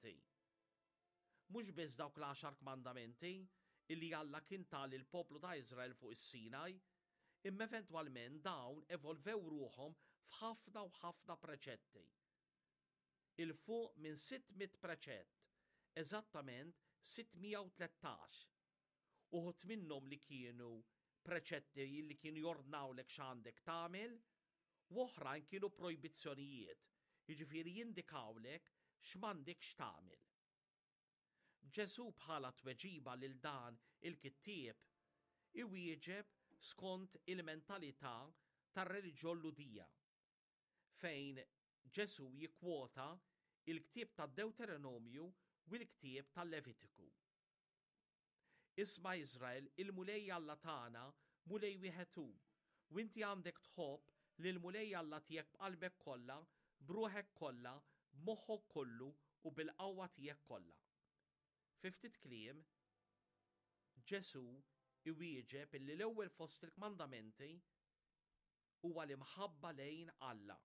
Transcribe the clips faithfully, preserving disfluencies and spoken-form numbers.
kmandamenti. Mhux biss dawk l-għaxar kmandamenti illi Alla kien ta lill-poplu ta' Iżrael fuq is-Sinaj, imma eventwalment dawn evolvew ruħhom f'ħafna u ħafna preċetti. 'Il fuq minn sitt mitt preċett, eżattament sitt mija u tlettax. Uħud minnhom li kienu preċetti li kienu jordnawlek x'għandek tagħmel, u oħrajn kienu projbizzjonijiet, jiġifieri jindikawlek x'm'għandekx tagħmel. Ġesù bħala tweġiba lil dan il-kittieb iwieġeb skont il-mentalità tar-reliġjon Lhudija, fejn Ġesù jikkwota il-ktieb tad-Dewteronomju u l-ktieb tal-Levitiku. Isma' Iżrael, il-Mulej Alla tagħna Mulej wieħed hu, u inti għandek tħobb lill-Mulej Alla tiegħek b'qalbek kollha, b'ruħek kollha, b'moħħok kollu u bil-qawwa tiegħek kollha. Fi ftit kliem, Ġesù iwieġeb illi l-ewwel fost il-kmandamenti huwa l-imħabba lejn Alla.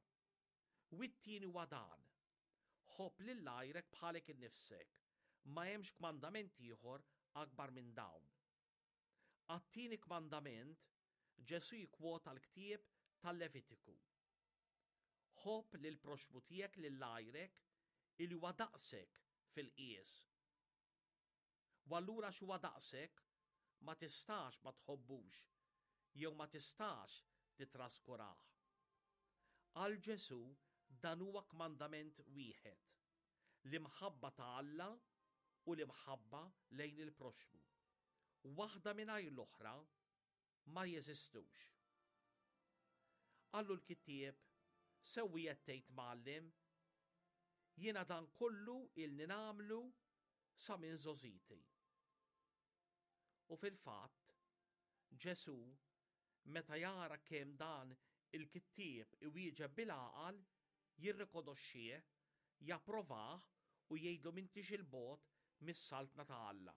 U t-tieni huwa dan: ħobb lil għajrek bħalek innifsek. Ma hemmx kmandament ieħor akbar minn dawn. Għat-tieni kmandament, Ġesù jikkwota l-ktieb tal-Levitiku. Ħobb lil proxmu tiegħek lil għajrek illi huwa daqsek fil-qies. U allura x'huwa daqsek ma tistax ma tħobbux jew ma tistax titraskurah. Għal Ġesù dan huwa kmandament wieħed, l-imħabba ta' Alla u l-imħabba lejn il-proxmu. Waħda mingħajr l-oħra ma jeżistux. Qallu l-kittieb, sewwi qed tgħid mgħallem, jiena dan kollu ilni nagħmlu sa minn żgħożiti. U fil-fatt, Ġesù, meta jara kemm dan il-kittieb iwieġeb bil-għaqal, jirrikonoxxih, japprovah u jgħidlu m'intix il-bogħod mis-saltna ta' Alla.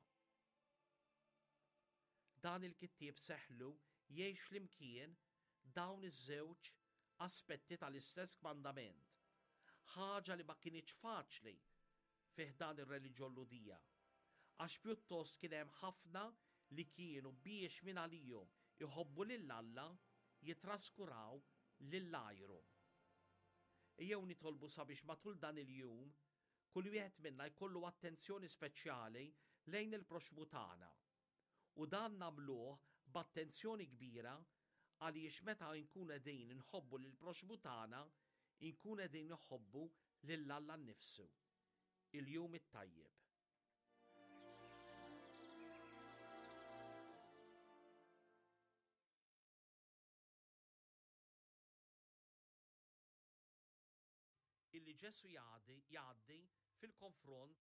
Dan il-kittieb seħlu jgħix flimkien dawn iż-żewġ aspetti tal-istess kmandament, ħaġa li ma kinitx faċli fih dan ir-reliġjon Lhudija, għax pjuttost kien hemm ħafna li kienu biex minn għalihom iħobbu lil Alla jitraskuraw lil għajrhom. Ejjew nitolbu sabiex matul dan il-jum kull wieħed minna jkollu attenzjoni speċjali lejn il-proxmu tagħna. U dan nagħmluh b'attenzjoni kbira għaliex meta nkun qegħdin inħobbu lil proxmu tagħna, inkun qegħdin inħobbu lil Alla nnifsu. Il-jum it-tajjeb. Illi Ġesu jgħaddi, jgħaddi fil-konfront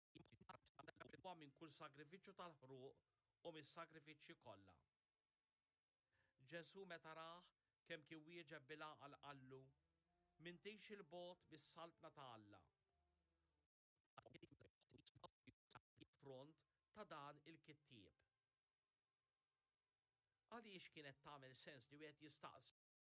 minn kull sagrifiċċju tal-ħruq u mis-sagrifiċċji kollha. Ġesu meta rah kemm kien wieġeb bil-għaqal qallu, m'intix il-bogħod mis-saltna ta' Alla. Front ta' dan il-kittieb. Għaliex kienet tagħmel sens li wieħed jistaqsi